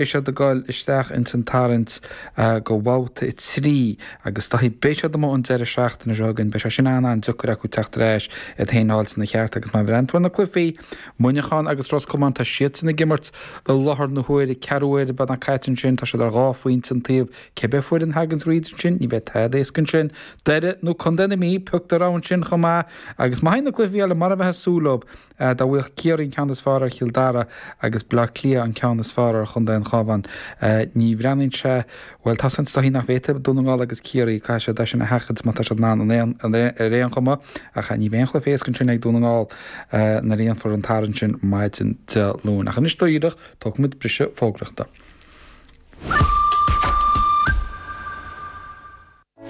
Beidh siad ag dul isteach ins an tarraingt go bhabhta 3 agus is dóichí beidh siad amuigh an deireadh seachtaine seo chugainn. Beidh sé sin an-an-deacair acu teacht ar ais iad féin a fháil ina cheart agus má bhreathnaíonn tú ar na cluichí, Muineachán agus Ros Comáin, tá siadsan ag imirt i láthair na huaire, ceathrú uaire beagnach caite ansin, tá siad ar dhá phointe an taobh. Cibé foireann a thagann thríd ansin, ní bheidh tada éasca ansin. Doire nó Contae na Mí, pioc do rogha ansin chomh maith agus má théann na cluichí eile mar a bheifeá ag súil leo, Dá bhfaigheadh Ciarraí an ceann is fearr ar Chill Dara agus Bleá Cliath an ceann is fearr ar Chontae an Chabháin, ní bhreathnaíonn sé, bhuel, tá seans is dóichí nach bhféadfaidh Dún na nGall agus Ciarraí, caithfidh siad é sin a sheachaint má tá siad in ann ar aon chuma, ach ní bheidh aon chluiche éasca ansin ag Dún na nGall nuair a dhéanfar an tarraingt sin maidin Dé Luain. Ach anois dáiríre, tógfaimid briseadh fógraíochta.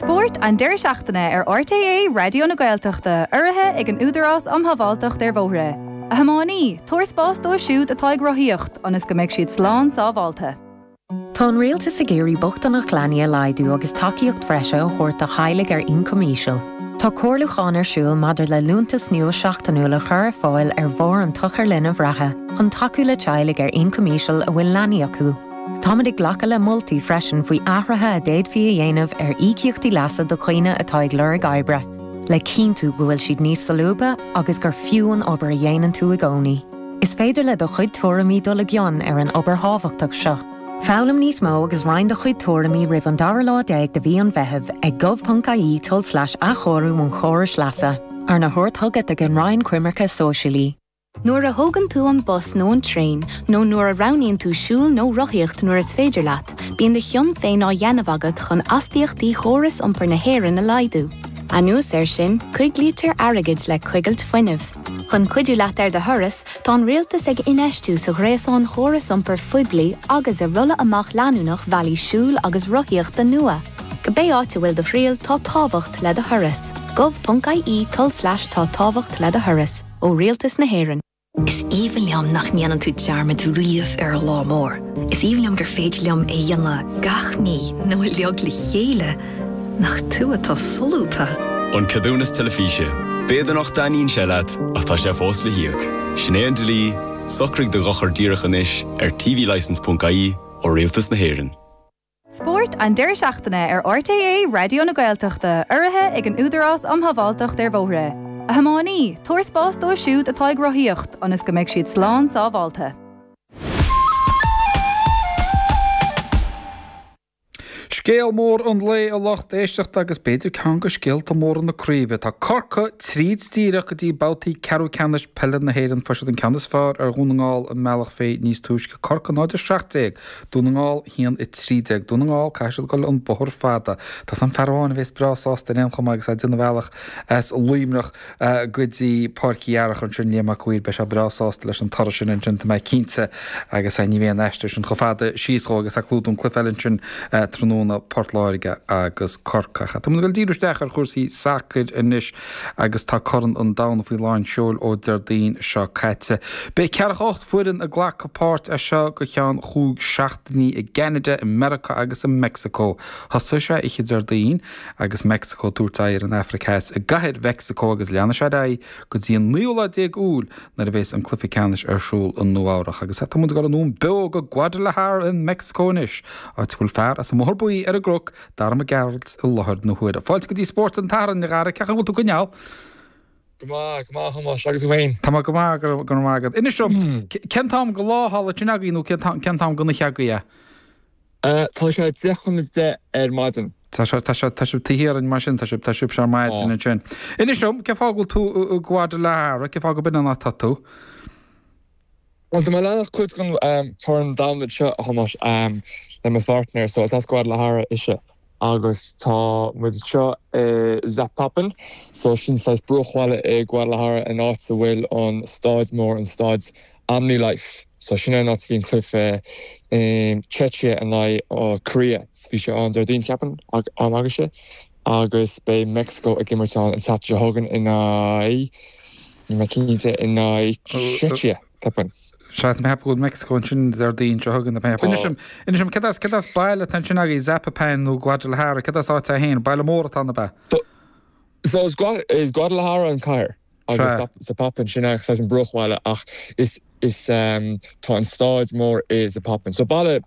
Spórt an deireadh seachtaine ar RTÉ Raidió na Gaeltachta, urraithe ag an Údarás um Shábháilteacht ar Bhóithre. A thiománaí, tabhair spás dóibh siúd atá ag rothaíocht, ionas go mbeidh siad slán sábháilte. Tá an Rialtas ag iarraidh bochtaineacht leanaí a laghdú agus tacaíocht bhreise a thabhairt do theaghlaigh ar ioncam íseal. Tá comhairliúchán ar siúl maidir le liúntas nua seachtainiúil a chur ar fáil ar bharr an tSochair Linbh reatha chun tacú le teaghlaigh ar ioncam íseal a bhfuil leanaí acu. Táimid ag glacadh le moltaí freisin faoi athruithe a d'fhéadfaí a dhéanamh ar íocaíochtaí leasa do dhaoine atá ag lorg oibre, le cinntiú go bhfuil siad níos solúbtha agus gur fiú an obair a dhéanann tú i gcónaí. Is féidir le do chuid tuairimí dul i gcion ar an obair thábhachtach seo. Foghlaim níos mó agus roinn do chuid tuairimí roimh an dara lá déag de mhí an Mheithimh ag gov.ie tulslais athchóiriú an chórais leasa, arna thabhairt chugat ag an Roinn Coimirce Sóisialaí. Nuair a thógann tú an bus nó an traein, nó nuair a roghnaíonn tú siúl nó rothaíocht nuair is féidir leat, bíonn do chion féin á dhéanamh agat chun astaíochtaí chóras iompair na hÉireann a laghdú. Anuas air sin, coiglítear airgead le coigilt fuinnimh. Chun cuidiú leat ar do thuras, tá an Rialtas ag infheistiú sa ghréasán chóras iompair phoiblí agus i rolladh amach leanúnach bhealaí siúil agus rothaíochta nua. Cibé áit a bhfuil do thriall, tá tábhacht le do thuras. gov.ie tulslais tá tábhacht le do thuras. ó Rialtas na hÉireann. Is aoibhinn liom nach ndéanann tú dearmad riamh ar an lá mór. Is aoibhinn liom gur féidir liom é a dhéanamh gach mí nó uilig le chéile. Nach tú atá solúbtha! An Ceadúnas Teilifíse. B'fhéidir nach dtaitníonn sé leat, ach tá sé fós le híoc. Sin é an dlí, socraigh do dhochar díreach anois ar tvlicence.ie ó Rialtas na hÉireann. Spórt an deireadh seachtaine ar RTÉ Raidió na Gaeltachta, urraithe ag an Údarás um Shábháilteacht ar Bhóithre. A thiománaí, tabhair spás dóibh siúd atá ag rothaíocht, ionas go mbeidh siad slán sábháilte. Scéal mór an lae a lucht éisteachta agus b'fhéidir ceann de scéalta móra na craoibhe. Tá Corcaigh tríd díreach go dtí babhtaí ceathrú ceannais peile na hÉireann. Fuair siad an ceann is fearr ar Dhún na nGall i mBealach Féich níos túisce. Corcaigh 0-17, Dún na nGall 1-13. Dún na nGall, caithfidh siad dul an bóthar fada. Tá 's a'm fear amháin a bhéas breá sásta ar aon chuma agus é ag déanamh a bhealach as Luimneach go dtí Páirc Uí Earrach ansin, Liam Mac Uidhir, beidh sé breá sásta leis an toradh sin ansin, tá mé cinnte, agus ní bheidh an aistear sin chomh fada síos dhó agus é ag clúdú an cluiche eile ansin tráthnóna, Port Láirge agus Corcaigh. Tá muid ag dul díriú isteach ar chúrsaí sacair anois. agus tá Corn an Domhain faoi lán seoil ó Déardaoin seo caite. Beidh 48 foireann ag glacadh páirt as seo go ceann chúig seachtainí i gCeanada, i Meiriceá agus i Meicsiceo. Thosaigh sé oíche Déardaoin agus Meicsiceo ag tabhairt aghaidh ar an Afraic Theas i gcathair Mheicsiceo agus leanfaidh sé ar aghaidh go dtí an naoú lá déag Iúil nuair a bheas an cluiche ceannais ar siúl i Nua Eabhrach. Agus tá muid ag dul anonn beo go Guadalajara i Meicsiceo anois, áit a bhfuil fear as an mBóthar Buí ar an gCnoc, Dara Mac Gearailt i láthair na huaire. Fáilte go dtí Spórt an tSathairn, a Dhara, cén chaoi a bhfuil tú ag coinneáil? Go maith, go maith a Thomáis, agus thú féin? Tá mé go maith, go raibh maith agat. Inis dom, cén t-am go lá thall ansin agaibh nó cén t-am go oíche agaibh é? Tá sé 10 chun 10 ar maidin. Tá sé, tá sé, tá sibh taobh thiar dínn mar sin, tá sibh, tá sibhse ar maidin ansin. Inis dom, cén fáth go bhfuil tú i Guadalajara, cén fáth go b'in an áit atá tú? Bhuel, tá mé ag leanacht cuid den Chorn Domhanda seo, a Thomáis, le mo pháirtnéir, so is as Guadalajara ise agus tá muid anseo i Zapopan, so sin saghas bruachbhaile i Guadalajara an áit a bhfuil an staid mór, an staid Omnilife. So sin é an áit a bhí an cluiche Czechia in aghaidh Korea, bhí sé ann Déardaoin ceapaim, am agaibhse, agus beidh Mexico ag imirt ann an tseachtain seo chugainn in aghaidh. Níl mé cinnte in aghaidh Czechia, ceapaim. Sea, tá mé ag ceapadh go bhfuil Mexico ansin Déardaoin seo chugainn, tá mé ag ceapadh. Inis dom, inis dom, céard as, céard as baile atá ansin agaibh, Zapopan nó Guadalajara, céard as áit é féin? Baile mór atá ann, ab ea? So is Guadalajara an cathair. Agus Zapopan, sin é saghas an bruachbhaile ach is, is, tá an staid mór i Zapopan. So baile.